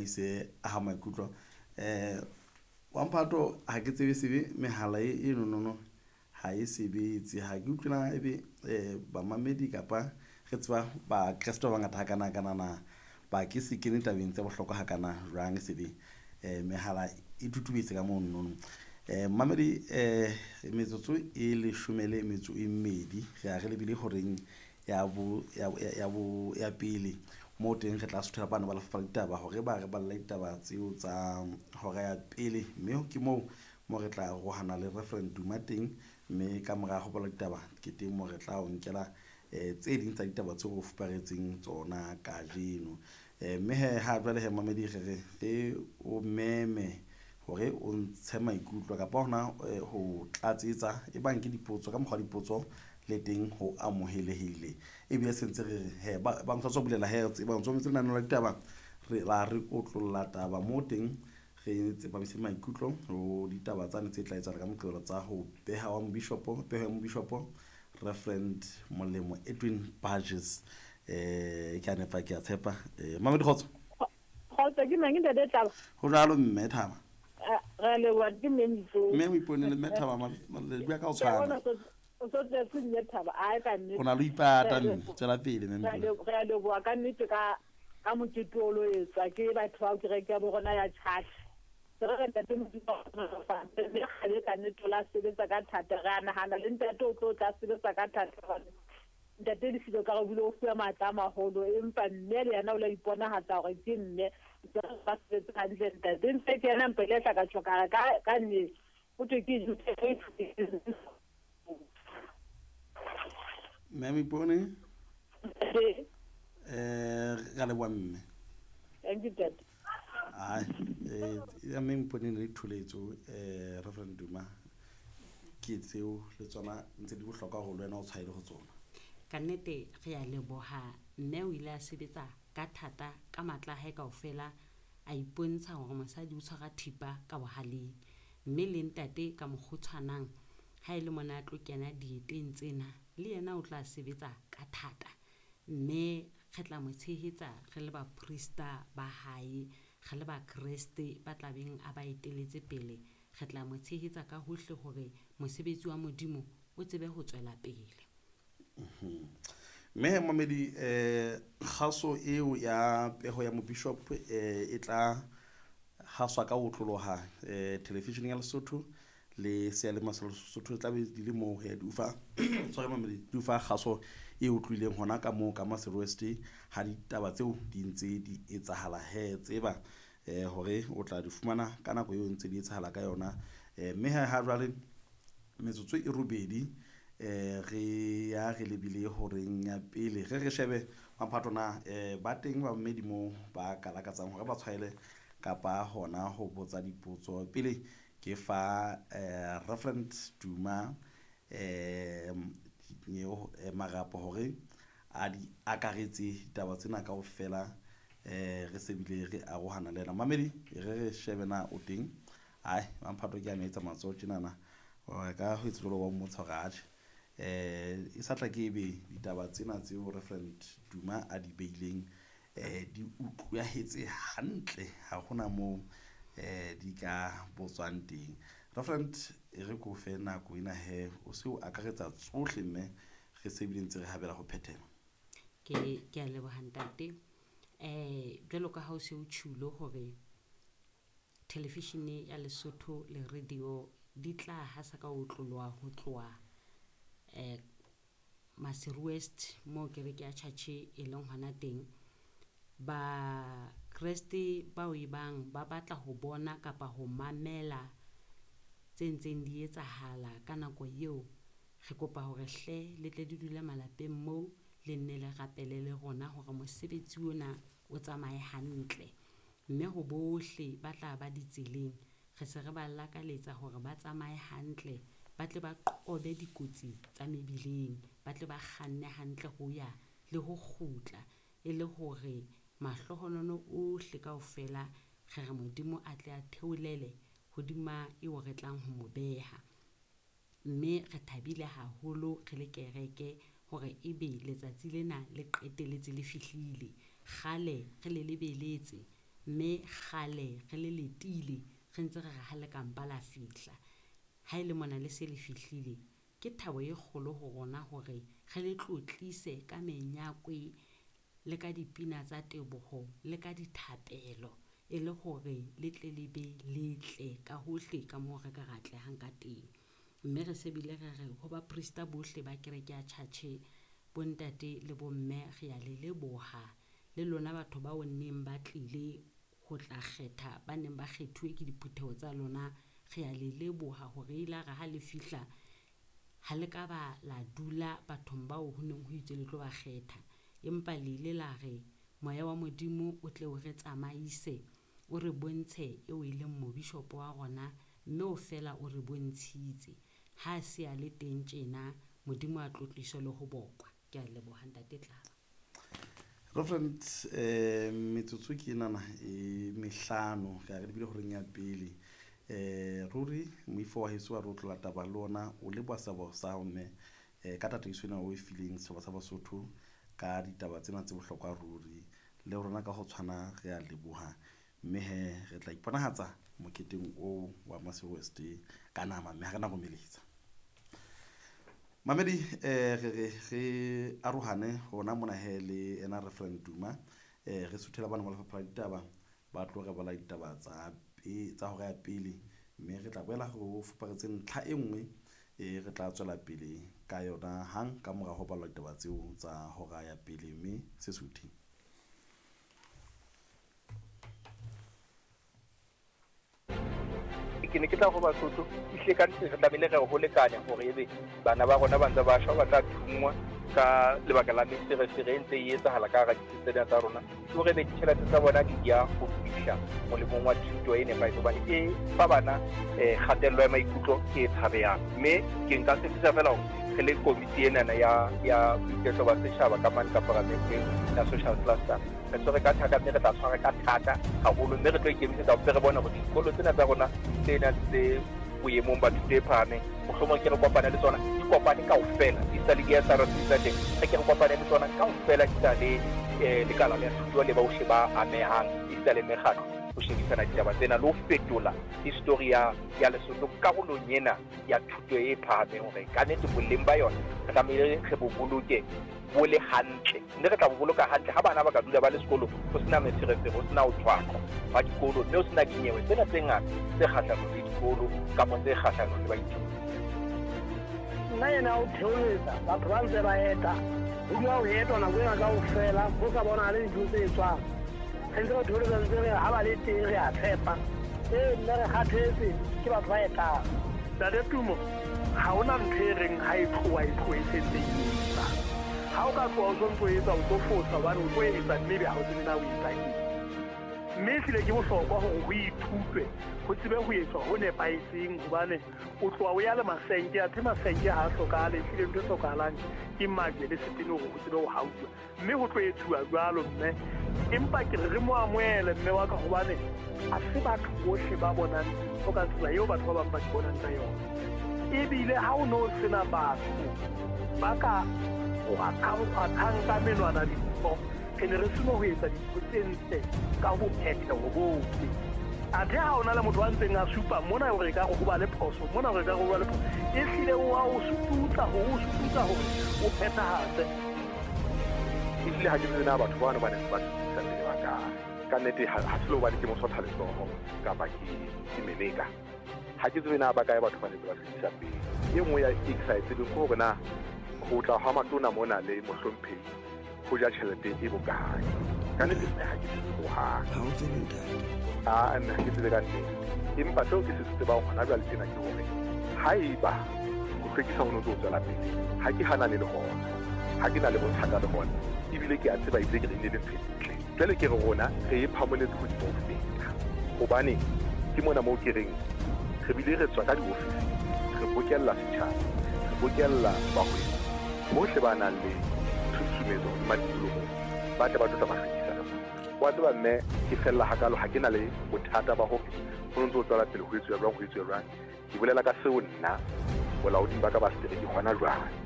Ise aha maikutlo. Wa mphato ha ke tsebe sebe mehala e nonono ha e sebetse. Ha ke utlwe na ebe bamamedi kapa re tseba Bakreste ba bangata hakana kana na ba ke se kene tabeng tse bohlokwa hakana jwang sebe mehala e tutubetse ka monono. Mamedi metsotso e leshome le metso e mmedi re a re lebile horeng ya bo ya ya bo ya pele moo teng re tla suthela bana ba lefapha la ditaba hore ba re balle ditaba tseo tsa hora ya pele. Mme ke moo mo re tla arohana le Reverend Duma teng, mme ka mora ho bala ditaba ke teng moo re tla o nkela tse ding tsa ditaba tseo re o fuparetseng tsona kajeno. Mme he ha jwale he mamedi re re re o meme hore o ntshe maikutlo kapa hona ho tlatsetsa e bang ke dipotso ka mokgwa wa dipotso le teng ho amohelehile. Ebile se ntse re re he ba bang sa tswa bulela he tseba o ntso mametse lenaneo la ditaba re la re otlolla taba moo teng re tsepamise maikutlo ho ditaba tsane tse tla etsahala ka Moqebelo tsa ho beha wa mobishopo, peho ya mobishopo Reverend Molemo Edwin Burgess. Ke a nepa ke a tshepa. Mamedi kgotso. Kgotso ke mang ntate Tlaba? Ho jwalo mme Thaba. Re a leboha ke mme Moipone. Mme Moipone le mme Thaba le bua ka ho tshwana. O so tletse mme Thaba a ka nnete. O na le ipata mme tswela pele mme Moipone. Re a leboha ka nnete ka ka mokete o lo etswa ke batho ba kereke ya bo rona ya church. Re re ntate Modimo mme kgale ka nnete o la sebetsa ka thata. Re a nahana le ntate o tlo tla sebetsa ka thata hobane ntate Lesilo ka re bile o fuwe matla a maholo, empa mme le yena o la iponahatsa hore ke mme. Ba sebetse hantle ntate. Ntse ke yena mpe le tla ka tjho ka re ka nne ho thwe ke Mme Moipone. Re a leboha mme. Thank you, Dad. Ai, ya mme Moipone le ditholetso Reverend Duma ke tseo le tsona ntse di bohlokwa haholo wena o tshwaele ho tsona. Ka nnete re a leboha mme o ile a sebetsa ka thata ka matla a hae kaofela a ipontsha hore mosadi o tshwara thipa ka bohaleng. Mme le ntate ka mokgwa o tshwanang ha e le mona a tlo kena dieteng tsena le yena o tla sebetsa ka thata. Mme re tla mo tshehetsa re le baprista ba hae, re le bakreste ba tla beng a ba eteletse pele. Re tla mo tshehetsa ka hohle hore mosebetsi wa Modimo o tsebe ho tswela pele. Mme mamedi kgaso eo ya peho ya mobishop e tla haswa ka ho otloloha television ya Lesotho le seyalemoya sa Lesotho tla be di le moo he di ufa tshware mamedi di ufa kgaso e utlwileng hona ka moo ka Maseru West ha ditaba tseo di ntse di etsahala he tseba hore o tla di fumana ka nako eo ntse di etsahala ka yona. Mme ha jwale metsotso e robedi re ya re lebile horeng ya pele re re shebe maphato na ba teng ba mmedi moo ba ka lakatsang hore ba tshwaele kapa hona ho botsa dipotso. Pele ke fa Reverend Duma marapo hore a di akaretse ditaba tsena kaofela re se bile re arohana le yena. Mamedi re re shebe na o teng. Ai mamphato ke a etsa matsoho tjenana ka ho etsa jwalo wa mmontsha hore atjhe e sa tla ke ebe ditaba tsena tseo Reverend Duma a di beileng di utlwahetse hantle ha hona moo di ka botswang teng. Reverend e re ko fe nako ena he o se o akaretsa tsohle mme re se bile ntse re habela ho phethela. Ke a leboha ntate. Jwalo ka ha o se o tjhulo hore television ya Lesotho le radio di tla hasa ka ho otloloha ho tloha Maseru West moo kereke ya church e leng hona teng. Bakreste bao e bang ba batla ho bona kapa ho mamela tse ntseng di etsahala ka nako eo, re kopa hore hle le tle di dule malapeng moo le nne le rapele le rona hore mosebetsi ona o tsamaye hantle. Mme ho bohle ba tla ba ditseleng re se re ba lakaletsa hore ba tsamaye hantle, ba tle ba qobe dikotsi tsa mebileng, ba tle ba kganne hantle ho ya le ho kgutla e le hore mahlohonolo ohle kaofela re re Modimo a tle a theolele hodima eo re tlang ho mo beha. Mme re thabile haholo re le kereke hore ebe letsatsi lena le qetelletse le fihlile. Kgale re le lebeletse. Mme kgale re le letile, re ntse re re ha le ka mpa la fihla. Ha e le mona le se le fihlile, ke thabo e kgolo ho rona hore re le tlotlise ka menyakwe le ka dipina tsa teboho le ka dithapelo e le hore le tle le be letle ka hohle ka moo re ka re atlehang ka teng. Mme re se bile re re ho baprista bohle ba kereke ya tjhatjhe, bontate le bomme re a le leboha. Le lona batho bao neng ba tlile ho tla kgetha, ba neng ba kgethuwe ke diphutheho tsa lona, re a le leboha hore ile re ha le fihla ha le ka ba la dula bathong bao ho neng ho itswe le tlo ba kgetha. Empa le ile la re moya wa Modimo o tle o re tsamaise, o re bontshe eo e leng mobishopo wa rona, mme o fela o re bontshitse. Ha a se a le teng tjena, Modimo a tlotliswe le ho bokwa. Ke a leboha Ntate Tlaba. Reverend, metsotso ke enana e mehlano re a re lebile horeng ya pele. Ruri moifo wa heso wa re o tlola taba le ona o leboha seabo sa hao mme ka tataiso ena o e fileng setjhaba sa Basotho ka ditaba tsena tse bohlokwa ruri. Le rona ka ho tshwana re a leboha, mme he re tla iponahatsa moketeng oo wa Maseru West ka nama, mme ha re na romeletsa. Mamedi, re re re arohane hona mona he le ena Reverend Duma, re suthela bana ba lefapha la ditaba ba tlo re bala ditaba tsa tsa hora ya pele, mme re tla boela re fuparetse ntlha e nngwe e re tla tswela pele ka yona hang ka mora ho balwa ditaba tseo tsa hora ya pele, mme se suthe. Ke ne ke tla ho Basotho ehlile ka nnete re tlamehile re ho lekane hore ebe bana ba rona ba ntse ba shwa, ba tla thunngwa ka lebaka la meferefere e ntse e etsahala ka hara ditsi tsena tsa rona, ke hore ebe ditjhelete tsa bona di ya ho fihla molemong wa thuto e nepahetseng, hobane e fa bana kgatello ya maikutlo e tshabehang. Mme ke nka tshepisa fela hore re le komiti enana ya boiketlo ba setjhaba ka mane ka paramenteng ya social cluster, re tshwere ka thata, mme re tla tshwara ka thata haholo, mme re tlo ikemisetsa hore re bone hore dikolo tsena tsa rona tsena tse boemong ba thuto e phahameng, mohlomong ke re kopane le tsona, di kopane kaofela, di sa le di-S R C tsa teng, re ke re kopane le tsona kaofela, di sa le lekala la thuto le bohle ba amehang, esita le mekgatlo, ho shebisana ditaba tsena le ho fetola history ya Lesotho karolong ena ya thuto e phahameng, hore ka nnete boleng ba yona re tlamehile re bo boloke bo le hantle, mme re tla bo boloka hantle ha bana ba ka dula ba le sekolong, ho sena meferefere, ho sena ho tshwaqwa hwa dikolo, mme ho sena dinyewe tsena tse ngata tse kgahlanong le dikolo kapa tse kgahlanong le baithuti. Nna ena o theoletsa batho ba ntse ba eta, ho dula ho etwa nako ena kaofela, ho sa bonahale dintho tse etswang. Re ntse re theoletsa ntse re ha ba le teng re a tshepa. Ee, mme re kgathetse ke batho ba etang. Ntate Tumo, ha hona ntho e reng ha e tloha e tlohe e sentse e etsa. Ha o ka tloha o sontso o etsa, o tlo fosa hobane o tlo etsa mme ebe ha o tsebe na o etsa eng. Mme ehlile ke bohlokwa hore ho ithutwe, ho tsebe ho etswa ho nepahetseng, hobane o tloha o ya le masenke, athe masenke ha a hlokahale, ehlile ntho e hlokahalang ke majwe le setene hore ho tsebe ho hauwa. Mme ho tlo etsuwa jwalo mme, empa ke re re mo amohele mme wa ka, hobane ha se batho bohle ba bonang dintho ka tsela eo batho ba bang ba di bonang ka yona. Ebile ha o no sena batho ba ka kgwathang ka menwana dintho, re ne re seno ho etsa dintho tse ntle ka bophetheho bohle. Athe ha ona le motho a ntseng a supa mona hore ekare ho ba le phoso, mona hore ekare ho ba le phoso, ehlile o a o sututsa hore o sututsa hore o phethahatse. Ehlile ha ke tsebe na batho bano ba neng ba hlwekisa pele ba kae. Ka nnete ha se le hobane ke mosotha letsoho kapa ke meleka. Ha ke tsebe na ba kae batho ba neng ba hlwekisa pele. E nngwe ya e ke sa e tsebeng ke hore na ho tla hwa matona mona le mohlomphehi ho ja tjhelete e bokae. Ka nnete mme ha ke tsebe hohang. Ha o tsebe ntate? Ah, mme ha ke tsebe ka nnete. Empa seo ke se tsebang hona jwale tjena ke hore haeba ho hlwekisa ho no ntso tswela pele, ha ke hanane le hona, ha ke na le bothata le hona, ebile ke a tseba ebile ke re ne le ntho e ntle. Jwale ke re rona re e phamoletse hodimo ho feta, hobane ke mona moo ke reng re bile re tswa ka diofising, re bokella setjhaba, re bokella bahwebi bohle ba nang le tshusumetso hodima tikoloho, ba tle ba tlo tla ba hlwekisa le bona. Wa tseba mme ke fella hakalo, ha ke na le bothata ba hore ho ntso tswela pele ho etsuwa jwang, ho etsuwa jwang. Ke bolela ka seo nna bolaoding ba ka ba setereke hona jwale.